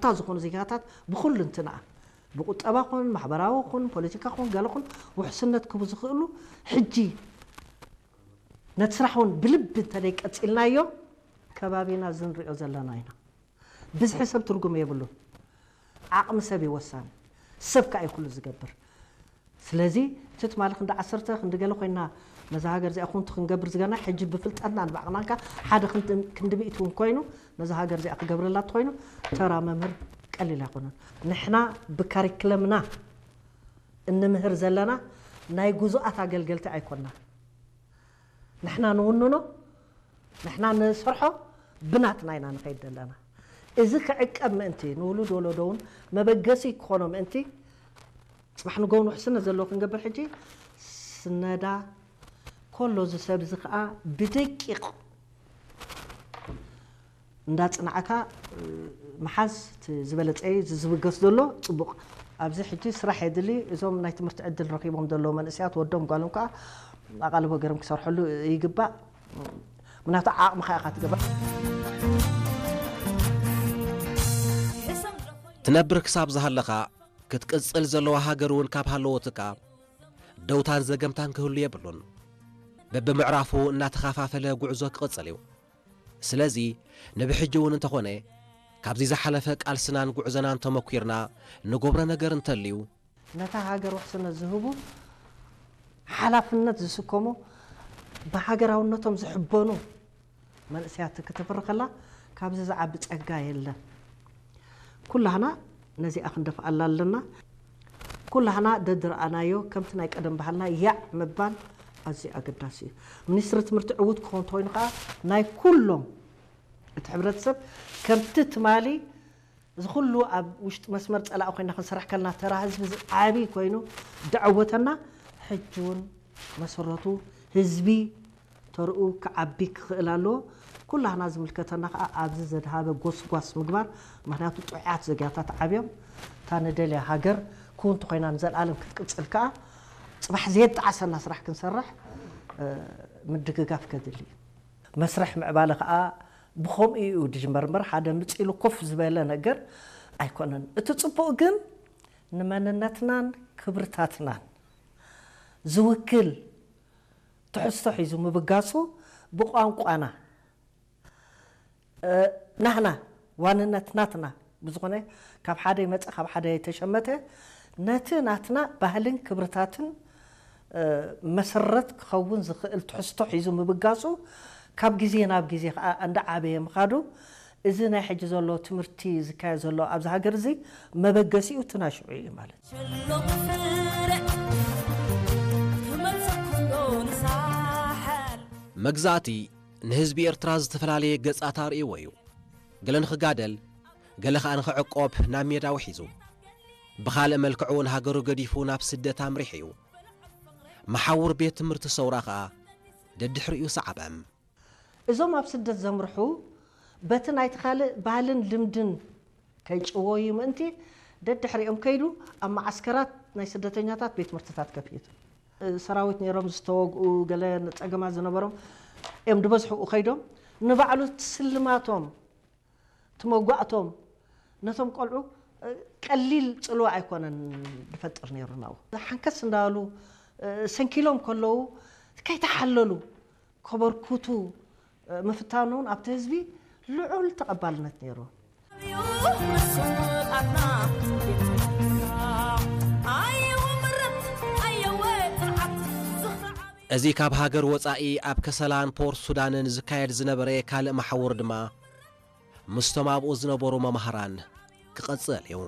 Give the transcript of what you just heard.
እታ ዝኾኑ ዜጋታት ብኹሉ እንትንኣ ብቁጠባ ኹን ማሕበራዊ ኹን ፖለቲካ ኹን ገለ ኹን ውሕስነት ክህቡ ዝኽእሉ ሕጂ ነቲ ስራሕ እውን ብልቢ እንተደይ ቀፂልናዮ ከባቢና እዚ ንሪኦ ዘለና ኢና። ብዝሒ ሰብ ትርጉም የብሉን። ዓቕሚ ሰብ እዩ ወሳኒ። ሰብ ከኣ እዩ ኩሉ ዝገብር። ስለዚ እቲ ትማሊ ክንዲ ዓሰርተ ክንዲ ገለ ኮይና ነዛ ሃገር እዚኣ ኩንቱ ክንገብር ዝገና ሕጂ ብፍልጠትና ንባዕቕናንካ ሓደ ክንዲ ክንዲ ሚእቲ እውን ኮይኑ ነዛ ሃገር እዚኣ ክገብረላ እንተኮይኑ ተራ መምህር ቀሊል ኣይኮነን። ንሕና ብካሪክለምና እንምህር ዘለና ናይ ጉዙኣት ኣገልገልቲ ኣይኮና። ንሕና ንውንኖ፣ ንሕና ንሰርሖ ብናትና ኢና ንኸይድ ዘለና። እዚ ክዕቀብ ምእንቲ ንውሉድ ወለዶ እውን መበገሲ ክኾኖ ምእንቲ ጽባሕ ንጎውን ውሕስነት ዘለዎ ክንገብር ሕጂ ስነዳ ኮሎ እዚ ሰብ እዚ ከዓ ብደቂቕ እንዳጽናዕካ ምሓዝ እቲ ዝበለጸ እዩ። እዚ ዝብገስ ዘሎ ጽቡቕ። ኣብዚ ሕጂ ስራሕ የድሊ። እዞም ናይ ትምህርቲ ዕድል ረኺቦም ዘለዉ መንእሰያት ወዶም ጓሎም ከዓ ኣቓልቦ ገይሮም ክሰርሐሉ ይግባእ። ምክንያቱ ዓቕምኻ ኢኻ ትገብር። ትነብር ክሳብ ዝሃለኻ ክትቅጽል ዘለዋ ሃገር እውን ካብ ሃለወትካ ደውታን ዘገምታን ክህሉ የብሉን። በብምዕራፉ እናተኸፋፈለ ጉዕዞ ክቕጽል እዩ። ስለዚ ንብሕጂ እውን እንተኾነ ካብዚ ዝሓለፈ ቃልስናን ጉዕዘናን ተመኲርና ንገብሮ ነገር እንተልዩ ነታ ሃገር ውሕስነት ዝህቡ ሓላፍነት ዝስከሙ ብሃገራውነቶም ዝሕበኑ መንእሰያት ክትፍሪ ከላ ካብዚ ዝዓቢ ጸጋ የለን። ኩላህና ነዚኣ ክንደፍኣላ ኣለና። ኩላህና ደድረኣናዮ ከምቲ ናይ ቀደም ባህልና ያዕ ምባል ኣዝዩ ኣገዳሲ እዩ። ሚኒስትሪ ትምህርቲ ዕዉት ክኸውን እንተኮይኑ ከዓ ናይ ኩሎም እቲ ሕብረተሰብ ከምቲ ትማሊ እዚ ኩሉ ኣብ ውሽጢ መስመር ፀላኢ ኮይና ክንሰርሕ ከለና ተራ ህዝቢ ዓብይ ኮይኑ ደዐወተና ሕጂ እውን መሰረቱ ህዝቢ ተርኡ ክዓቢ ክኽእል ኣለዎ። ኩላህና ዝምልከተና ከዓ ኣብዚ ዘድሃበ ጎስጓስ ምግባር ምክንያቱ ጥዑያት ዘጊያታት ዓብዮም እታ ንደልያ ሃገር ክውንቲ ኮይና ንዘለኣለም ክትቅፅል ከዓ ፅባሕ ዘየጣዓሰና ስራሕ ክንሰርሕ ምድግጋፍ ከድሊ እዩ። መስርሕ ምዕባለ ከዓ ብኸምኡ እዩ ዝጅመር እምበር ሓደ ምፅ ኢሉ ኮፍ ዝበለ ነገር ኣይኮነን። እቲ ፅቡቕ ግን ንመንነትናን ክብርታትናን ዝውክል ትሕዝቶ ሒዙ ምብጋሱ ብቋንቋና ናህና ዋንነት ናትና ብዝኾነ ካብ ሓደ ይመፀ ካብ ሓደ ተሸመተ ነቲ ናትና ባህልን ክብርታትን መሰረት ክኸውን ዝኽእል ትሕዝቶ ሒዙ ምብጋሱ ካብ ግዜ ናብ ግዜ ከዓ እንዳዓበየ ምኻዱ እዚ ናይ ሕጂ ዘሎ ትምህርቲ ዝካየድ ዘሎ ኣብዚ ሃገር እዚ መበገሲኡ እቲ ናይ ሽዑ እዩ ማለት እዩ። መግዛእቲ ንህዝቢ ኤርትራ ዝተፈላለየ ገጻት ኣርእይዎ እዩ። ገለ ንኽጋደል፣ ገለ ኸኣ ንኽዕቆብ ናብ ሜዳ ውሒዙ። ብኻልእ መልክዑ ንሃገሩ ገዲፉ ናብ ስደት ኣምሪሑ እዩ። መሓውር ቤት ትምህርቲ ሰውራ ኸኣ ደድሕሪኡ ሰዓበ። እዞም ኣብ ስደት ዘምርሑ በቲ ናይቲ ካልእ ባህልን ልምድን ከይጭወዩ ምእንቲ ደድሕሪኦም ከይዱ ኣብ መዓስከራት ናይ ስደተኛታት ቤት ትምህርትታት ከፊቱ። ሰራዊት ነይሮም ዝተወግኡ ገለ ጸገማት ዝነበሮም እዮም ድበዝሑ ከይዶም ንባዕሉ ትስልማቶም ትመጓእቶም ነቶም ቆልዑ ቀሊል ጽልዋ ኣይኮነን ድፈጥር ነይሩ ናብኡ ሓንከስ እንዳበሉ ሰንኪሎም ከለዉ ከይተሓለሉ ከበርክቱ ምፍታኑ እውን ኣብቲ ህዝቢ ልዑል ተቐባልነት ነይሩ። እዚ ካብ ሃገር ወጻኢ ኣብ ከሰላን ፖርት ሱዳንን ዝካየድ ዝነበረ ካልእ መሓውር ድማ ምስቶም ኣብኡ ዝነበሩ መማህራን ክቐጽል እዩ።